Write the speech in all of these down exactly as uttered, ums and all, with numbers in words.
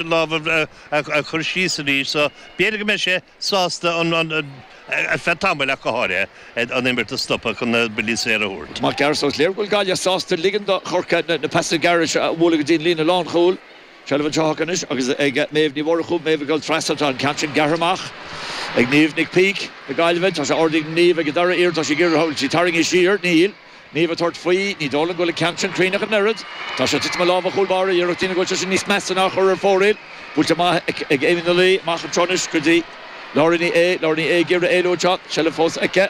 Lámh a chur síos arís so b'fhéidir go mbeidh sé sásta an ar feadh tamaill ach go háirithe an imirt a stopadh chun na buillí saora a thabhairt. Mac gearr so is léir go bhfuil Gaillimh sásta ligean do Chorcaigh na pasanna gearra seo a bhualadh go dtí an líne lánchúil. Seilbh anseo acu anois agus ag Méabh Ní Mhurchú, Méabh ag dul trasna, tá an ceann sin gearrtha amach ag Niamh Nic Píc na Gaillimhe. Tá sé ardaithe ag Niamh ag an dara iarracht, tá sí ag iarraidh, bhfuil sí tarraingthe siar? Níl. Niamh ag tabhairt faoi, ní dóigh liom go bhfuil an ceann sin cruinn ach an oiread. Tá sé ag titim i lámha an chúl báire, iarracht déanamh go bhfuil sé sin níos measa ná a chur ar fóraoil. Buailte amach ag Amy Ní Laoi, amach anseo anois go dtí Laura Ní Aodha, Laura Ní Aodha ag iarraidh éalú anseo, seilbh fós aici.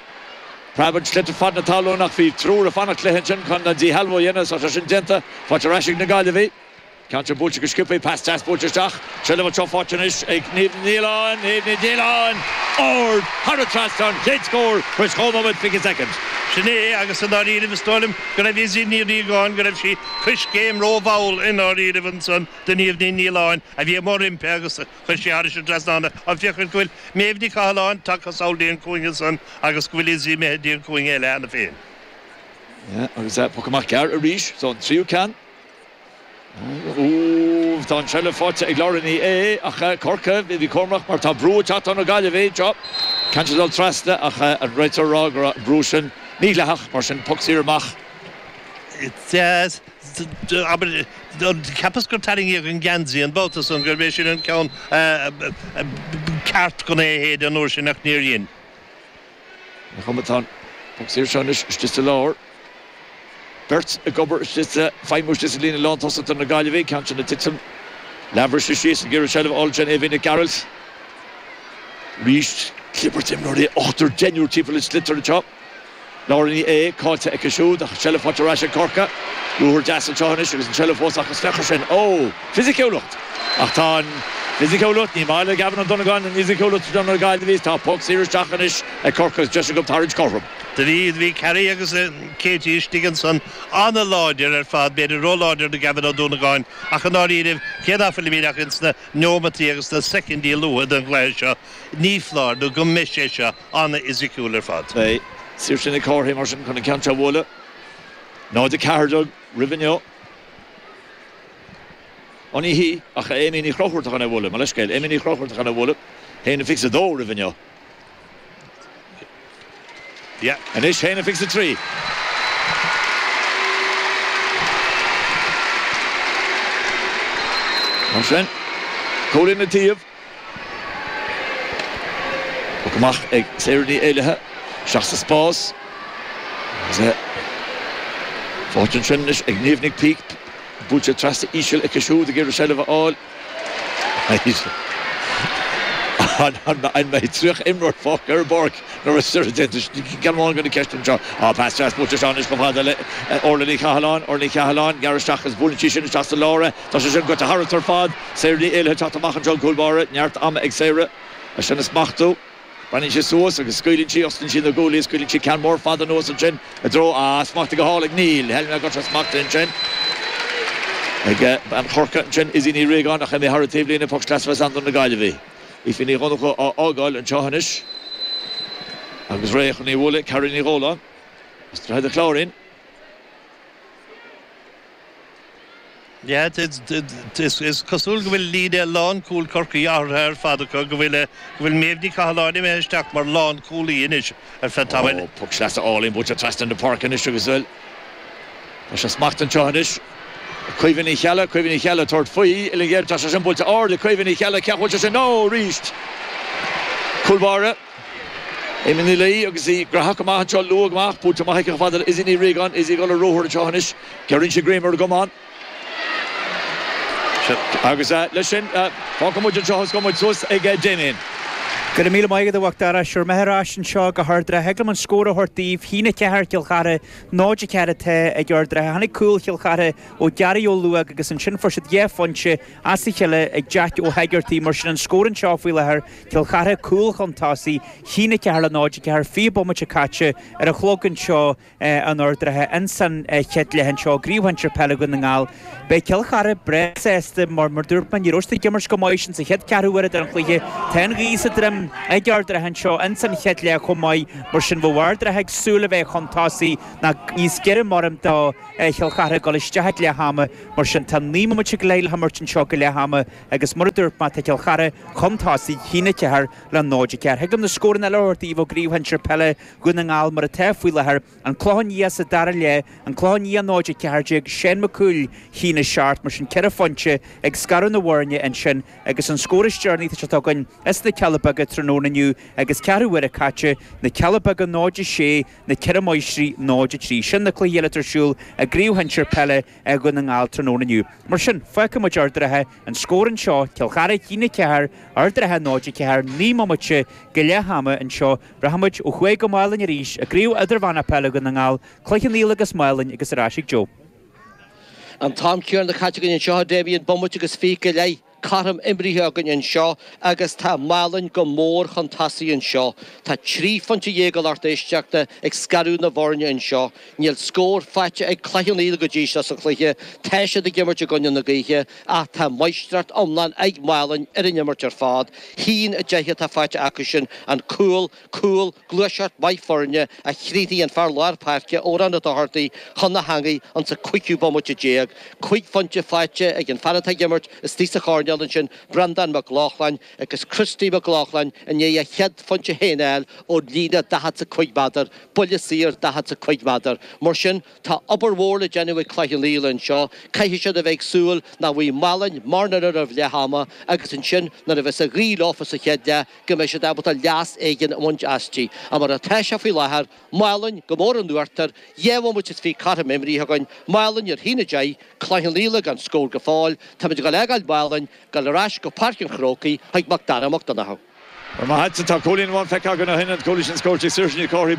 Preabann sliotar fad na talún ach bhí triúr ag fanacht léi ansin chun an díshealbhú a dhéanamh, tá sé sin déanta, faighte ar ais ag na Gaillimhigh. Ceann sin buailte go sciobtha, pas deas buailte isteach. Seilbh anseo faighte anois ag Niamh Ní Nialláin, Niamh Ní Nialláin! Ard thar an trasnán, chéad scór tar éis dhá nóiméad fiche soicind. Sin é, agus i ndáiríribh is dóigh liom go raibh Izzy Ní Riagáin, go raibh sí coiscéim rómhall i ndáiríribh ansan do Niamh Ní Nialláin a bhí amuigh roimpi agus chuir sí thairis an trasnán í. Ag féachaint go bhfuil Méabh Ní Chathalláin tagtha sall dtí an cúinne san agus go bhfuil Izzy imithe dtí an cúinne eile cheana féin. Agus poc amach gearr arís, so an tríú ceann. Úúúú, tá an tseilbh faighte ag Laura Ní Aodha ach Corcaigh, bhí cúramach mar tá brú ag teacht ó na Gaillimhigh anseo. Ceann sin ag dul trasna ach an réiteoir ag rá go raibh an brú sin mídhleathach, mar sin poc saor amach. Deas, abair, cheapas gur tarraingíodh an geansaí an babhta san, gurb é sin an ceann ceart chun é a shéideadh an uair sin ach níor dhein. An chuma atá an poc saor seo anois istigh sa lár. Beirt ag obair istigh sa, feidhmiú istigh sa líne lántosach do na Gaillimhigh, ceann sin ag titim. Leathbhriseadh síos ag iarraidh seilbh a fháil ansin Aoibhinn Nic Gearailt. Arís, clibirt imreoirí, ochtar, deichniúr timpeall an tsliotair anseo. Laura Ní Aodha caillte aici siúd ach seilbh faighte ar ais ag Corcaigh. Ruathar deas anseo anois agus an tseilbh fós acu is féach air sin. Ó! Fisiciúlacht! Ach tá an fhisiciúlacht, ní maith le Gavin Ó Donnacháin an fhisiciúlacht do na Gaillimhigh. Tá poc saor isteach anois ag Corcaigh agus deis acu tarraingt cothrom. Do bhí, bhí Carrie agus Katie istigh ansan an-láidir ar fad, b'fhéidir ró-láidir do Gavin Ó Dúnagáin, ach i ndáiríribh, cé ná fuilimid ach ins na neomataí agus na soicindí luatha den gcluiche seo, ní foláir nó go mbeidh sé seo an-fhisiciúil ar fad. Beidh Saoirse Nic Cárthaigh mar sin chun an ceann seo a bhualadh. náid a ceathair déag roimh inniu. Ó ní hí ach Amy Ní Chonchúir atá chun é a bhualadh, mo leithscéal, Amy Ní Chonchúir atá chun é a bhualadh. Haon a fiche is a dó roimh inniu. Yeah. Anois haon a fiche is a trí. Mar sin, cúilín an taobh. Poc amach ag Sarah Ní Éilithe. Isteach sa spás. Agus é faighte ansin anois ag Niamh Nic Píc. Buailte trasna íseal aici siúd ag iarraidh seilbh a fháil. An mbeidh tríocha imreoir fágtha ar an bpáirc nuair a bheidh déanta? Ceann amháin de na ceisteanna anseo. Á, pas deas buailte isteach anois chomh fada le Orla Ní Chathalláin. Orla Ní Chathalláin, gearradh isteach agus buaileann sí sin isteach sa lár é. Tá sé sin goite tharat ar fad. Sarah Ní Éilithe ag teacht amach anseo an cúl báire. Neart ama ag Sarah é sin a smachtú. Breathnaíonn sí suas agus scaoileann sí, osclaíonn sí na guaillí, scaoileann sí ceann mór fada anuas ansin i dtreo, ah, smachtaithe go hálainn, níl, shíl mé go raibh sé smachtaithe ansin ag bean Chorcaí ansin, Izzy Ní Riagáin, ach imithe thar an taobhlíne, poc sleasa a bheas ann do na Gaillimhigh. Aoife Ní Dhonnchú á fhágáil anseo anois agus réidh chun í a bhualadh, Carrie Ní Dhóláin as Droichead an Chláirín. Yeah, is cosúil go bhfuil líne lánchúil Chorcaí athraithe ar fad acu, go bhfuil go bhfuil Méabh Ní Chathalláin imithe isteach mar lánchúlaí anois ar feadh tamaill. Ó, poc sleasa álainn buailte trasna na páirce anois agus bhuel, tá sé smachtaithe anseo anois. Caoimhe Ní Cheallaigh, Caoimhe Ní Cheallaigh ag tabhairt faoi, uillinn ghéar, tá sé sin buailte ard ag Caoimhe Ní Cheallaigh, cé bhfuil sé sin? Ó, arís! Cúl báire. Amy Ní Laoi agus í graitheach go maith anseo, luath go maith, buailte amach aici chomh fada le Izzy Ní Riagáin, Izzy ag dul ar ruathar anseo anois, gearrann sí greim ar an gcamán. Agus leis sin, fágfaidh muid anseo agus gabhfaidh muid suas ag Damien. Go raibh míle maith agat a Mhac Dara. Sure, mé ar ais anseo go hArd an Rátha. Thig liom an scór a thabhairt daoibh. Haon a ceathair Cill Chartha, náid a ceathair atá ag Ard an Rátha. Tháinig cúl Chill Chartha ó Gary Ó Luaig agus ansin fuair siad dhá phointe as a chéile ag Jack Ó hEigeartaigh. Mar sin an scór anseo faoi láthair, Cill Chartha cúl chun tosaigh, haon a ceathair le náid a ceathair, fiche bomaite caite ar an chlog anseo in Ard an Rátha ins an chéad leath anseo i gCraobh Shinsir Peile Dhún na nGall. Beidh Cill Chartha breá sásta mar, mar dúirt mé, ní raibh siad ag imirt go maith sin sa chéad ceathrú uaire den chluiche. Tá an ghaoth sa droim cinn ag Ard an Rátha anseo ins an chéad leath chomh maith, mar sin bheadh Ard an Rátha ag súil a bheith chun tosaigh ná níos giorra mar do Chill Chartha ag dul isteach ag leath ama, mar sin tá naoi mbomaite go leith le himirt anseo go leath ama agus mar a dúirt mé tá Cill Chartha chun tosaigh a haon a ceathair le náid a ceathair. Thig liom na scóranna eile a thabhairt daoibh ó gCraobh Shinsir Peile Dhún na nGall mar atá faoi láthair, An Clochán Liath sa dara leath, An Clochán Liath náid a ceathair déag, Seán Mac Cumhaill a haon a seacht, mar sin ceithre phointe ag scaradh na bhfoirne ansin agus an scór is deireanaí atá againn as na Cealla Beaga tráthnóna inniu agus ceathrú uaire caite, Na Cealla Beaga náid a sé, Na Ceithre Máistrí náid a trí. Sin na cluichí eile atá ar siúl i gCraobh Shinsir Peile Dhún na nGall tráthnóna inniu. Mar sin, fágfaidh muid Ard an Rátha, an scór anseo, Cill Chartha a haon a ceathair, Ard an Rátha náid a ceathair, naoi mbomaite go leath ama anseo. Rachaidh muid ó thuaidh go Málainn arís i gCraobh Idirmheánach Peile Dhún na nGall, Cloich Cheann Fhaola agus Málainn agus ar ais ag Joe. An t-am céanna caite againn anseo, Damien, bomaite agus fiche go leith cothrom imrithe againn anseo agus tá Málainn go mór chun tosaigh anseo. Tá trí phointe dhéag a lucht éisteachta ag scaradh na bhfoirne anseo. Níl scór faighte ag Cloich Cheann Fhaola go dtí seo sa chluiche. Tá siad ag imirt i gcoinne na gaoithe ach tá máistreacht iomlán ag Málainn ar an imirt ar fad. Haon a deich atá faighte acu sin, an cúl, cúl, gluaiseacht mhaith foirne a chríochnaigh an fear lár páirce, Odhrán Ó Dochartaigh, chun na heangaí insa cúigiú bomaite déag. Cúig phointe faighte ag an fear atá ag imirt istigh sa choirnéal ansin, Breandán Mac Lochlainn, agus Christy Mac Lochlainn i ndiaidh a chéad phointe féin a fháil ón líne daichead 's a cúig méadar, buille saor daichead 's a cúig méadar. Mar sin, tá obair mhór le déanamh ag Cloich Cheann Fhaola anseo. Caithfidh siad a bheith ag súil nach bhfaighidh Málainn mórán roimh leath ama agus ansin nuair a bheas an ghaoth leofa sa chéad leath go mbeidh siad ábalta leas éigin a bhaint aisti. Ach mar atá sé faoi láthair, Málainn go mór in uachtar, dhá bhomaite is fiche cothrom imrithe againn, Málainn ar haon a deich, Cloich Cheann Fhaola gan scór go fóill, táimid ag dul a fhágáil Mhálainn, dul ar ais go Páirc an Chrócaigh chuig Mac Dara Mac Donncha. Ar maith agat, tá cúilín amháin feicthe againn ó shin, an cúilín sin scóráilte ag Saoirse Ní Chárthaigh,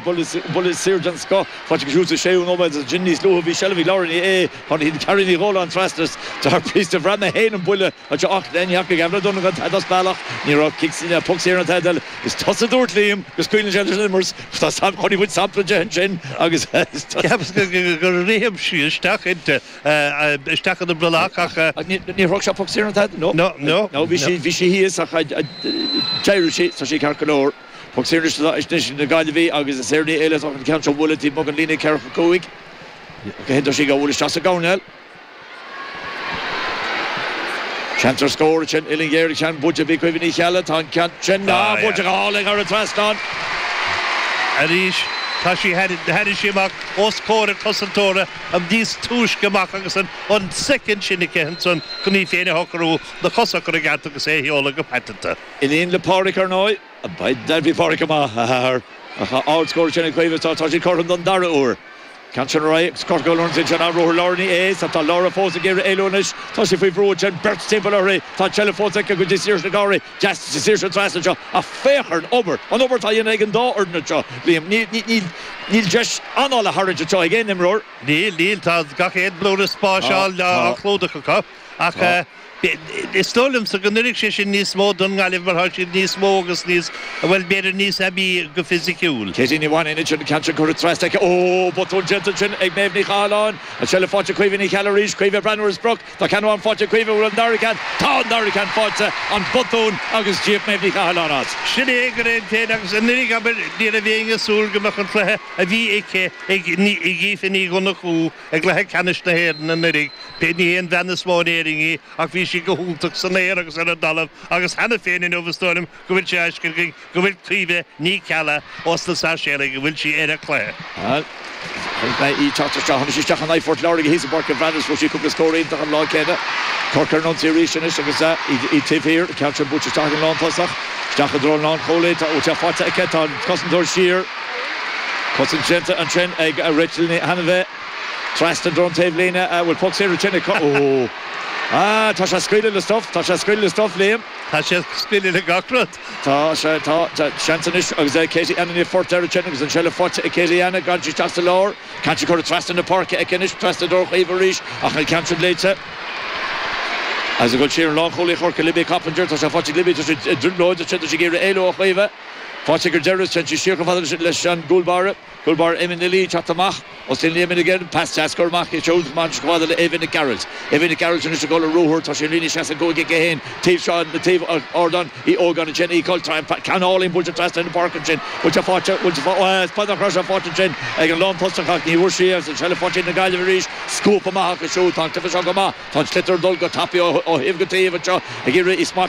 buille saor den scoth faighte aici siúd sa séú nóiméad agus ansin níos luaithe bhí seilbh ag Laura Ní Aodha, tháinig Carrie Ní Dhóláin trasna thar píosa, bhraith mé féin an buille anseo ach ní fhaca Gavin O'Donovan tada as bealach, ní raibh cic, poc saor ná tada eile. Is tusa a dúirt Liam go scaoileann sé leis an imirt, tá chonaic muid sampla de ansin agus Ceapas gur rith sí isteach inti, isteach ina brollach ach. Níor thug sé poc saor ná tada, no. No, no. No, bhí sí, bhí sí thíos ach d'éirigh sí, tá sí ceart go leor. Poc saor anois anois na Gaillimhí agus is Éireannaigh eile atá an ceann seo a bhualadh taobh amuigh den líne ceathracha cúig. Go tá sí ag bualadh isteach sa gcoirnéal. Seans ar scór ansin, uillinn ghéar an ceann buailte bhí Caoimhe Ní Cheallaigh, tá an ceann sin ah buailte go hálainn thar an trasnán. Arís tá sí tháinig sí amach os comhair a cosantóra níos túisce amach agus an an soicind sin aici ansan chun í féin a shocrú, na cosa a chur i gceart agus é a sheoladh go paiteanta. Iníon le Pádraic ar ndóigh. Bhí Pádraic amach, a athair. Ach ardscór sin ag Caoimhe, tá sí cothrom don dara huair. Ceann sin ar aghaidh agus curtha go Lawrence ansin an ruathar Laura Ní Aodha. Tá Laura fós ag iarraidh éalú anois. Tá sí faoi bhrú ansin, beirt timpeall uirthi. Tá an tseilbh fós aici go dtí Saoirse Nic Cárthaigh. Deas Saoirse trasna anseo. Ach féach ar an obair, an obair atá á dhéanamh ag an dá fhoireann anseo, Liam. Níl, níl, níl deis anáil a tharraingt anseo ag aon imreoir. Níl, níl. Tá gach aon blúire spáis á chlúdach acu. Ach is dóigh liomsa go n-oirfidh sé sin níos mó don nGaillimh mar tá siad níos mó agus níos, bhuel, b'fhéidir níos aibí go fisiciúil. Katie Ní Mhainín ansin, an ceann sin curtha trasna aici. Ó, botún déanta ansin ag Méabh Ní Chathalláin. An tseilbh faighte ag Caoimhe Ní Cheallaigh arís. Caoimhe ag breathnú ar a sprioc. Tá ceann amháin faighte ag Caoimhe. Bhfuil an dara ceann? Tá an dara ceann faighte. An botún agus d'íoc Méabh Ní Chathalláin as. Sin é go réidh féin agus anuraidh, abair, ní raibh éinne ag súil go mbeadh an cluiche a bhí aici ag Aoife Ní Dhonnchú i gcluiche ceannais na hÉireann anuraidh. Ní hé an bhean is mó in Éirinn í ach bhí sí go hiontach san aer agus ar an dtalamh agus cheana féin inniu is dóigh liom go bhfuil sé á fheiscint againn go bhfuil Caoimhe Ní Cheallaigh ós na Sáirséalaigh go bhfuil sí ar a cluiche. Bhuel, chonaic mé í teacht isteach, tháinig sí isteach in aghaidh Phort Láirge thíos i bPáirc an Bhreathnaigh, fuair sí cúpla scór iontach an lá céanna. Corcaigh ar an ionsaí arís anois agus í taobh thiar, an ceann sin buailte isteach ag an lántosach, isteach i dtreo an lánchúlaí, tá sé faighte aici, tá an cosantóir siar. Cosaint déanta ansin ag Rachel Ní Hainbhith. Trasna i dtreo an taobhlíne, an bhfuil poc saor ansin ag Ó! Ah, tá sé ag scaoileadh le stuif, tá sé ag scaoileadh le stuif, Liam. Tá sé ag scaoileadh le gach rud. Tá sé, tá, tá seans anois agus Katie Anna Ní Phort air ansin agus an tseilbh faighte ag Katie Anna, gabhann sí isteach sa lár, ceann sin curtha trasna na páirce aici anois, trasna i dtreo Chaoimhe arís ach an ceann sin léite. Agus ag dul siar an lánchúlaí Chorcaí, Libby Coppinger, tá sé faighte ag Libby, tá sí i dtrioblóid ansin, tá sí ag iarraidh éalú ó Chaoimhe. Fáilte gur deireadh sé siar chomh fada leis an gcúl báire, cúl báire Eamon Ní Laoi teacht amach os cionn Liam again, pas deas curtha amach é siúd amach chomh fada le Eva Nic Gearailt. Eva Nic Gearailt anois ag dul ar ruathar, tá sí an líne seasca cúig aici féin, taobh seo na taobh ardán Uí Ógáin ansin, í cul ceann álainn buailte trasna na páirce ansin, bhfuil sé faighte, bhfuil sé faighte, is nach raibh sé faighte ansin ag an lántosach ach ní bhfuair sí agus an seilbh faighte ag na Gaillimh arís, scuabtha amach acu siúd, tá an cluiche seo go maith, tá an sliotar ag dul go tapaidh ó thaobh go taobh anseo ag iarraidh í smacht.